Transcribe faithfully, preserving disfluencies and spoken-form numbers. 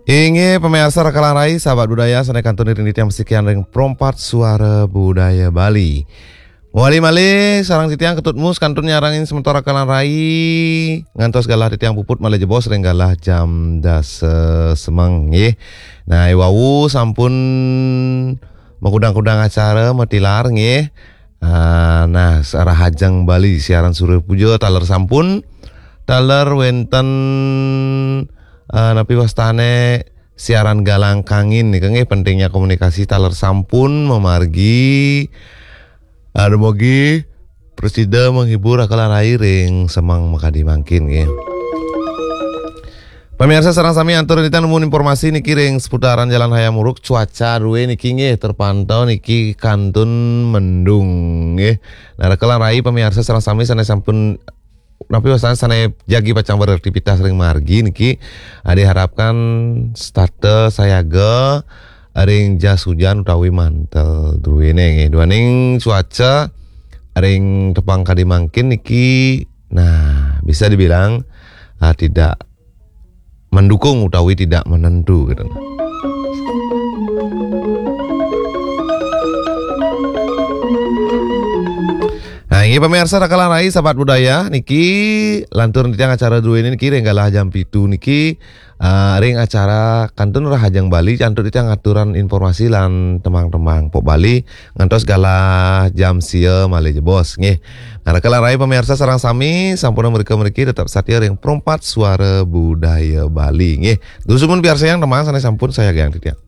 Inggih pamiarsa Raka lan Rai, sahabat budaya, sané kantun iring titiang pasikian ring Pro empat Suara Budaya Bali. Mawali malih sareng titiang Ketut Mus kantun nyarengin semeton Raka lan Rai ngantos galah titiang puput malih jebos ring galah jam dasa semeng nggih. Nah, i wau sampun makudang-kudang acara matilar nggih. Ah, nah, Rahajeng Bali siaran Surya Puja taler sampun, taler wénten, ah, napi wastané siaran Galang Kangin nika nggih, pentingnya komunikasi taler sampun mamargi, ah, dumugi prasida menghibur Raka lan Rai ring semeng makadi mangkin nggih. Pamiarsa sareng sami, antuk titiang nunas informasi niki ring seputaran Jalan Hayam Wuruk, cuaca drué niki nggih terpantau niki kantun mendung nggih. Nah, Raka lan Rai pamiarsa sareng sami sané sampun napi wastané sané jagi pacang beraktivitas ring margi niki, ah, diharapkan setata sayaga ring jas hujan utawi mantel druéné nggih. Duaning cuaca ring tepang kadi mangkin niki, nah, bisa dibilang, ah, tidak mendukung utawi tidak menentu gitu. Nah, inggih pamiarsa Raka lan Rai sahabat budaya niki, lantur titiang acara druéné niki ring galah jam pitu niki, ah, ring acara kantun Rahajeng Bali, antuk titiang ngaturin informasi lan tembang-tembang pop Bali ngantos galah jam sia malih jebos nggih. Nah, Raka lan Rai pamiarsa sareng sami, sampunang mrika mriki tetep satia ring Pro empat Suara Budaya Bali nggih. Dumun piarsayang tembang sané sampun sayagayang titiang.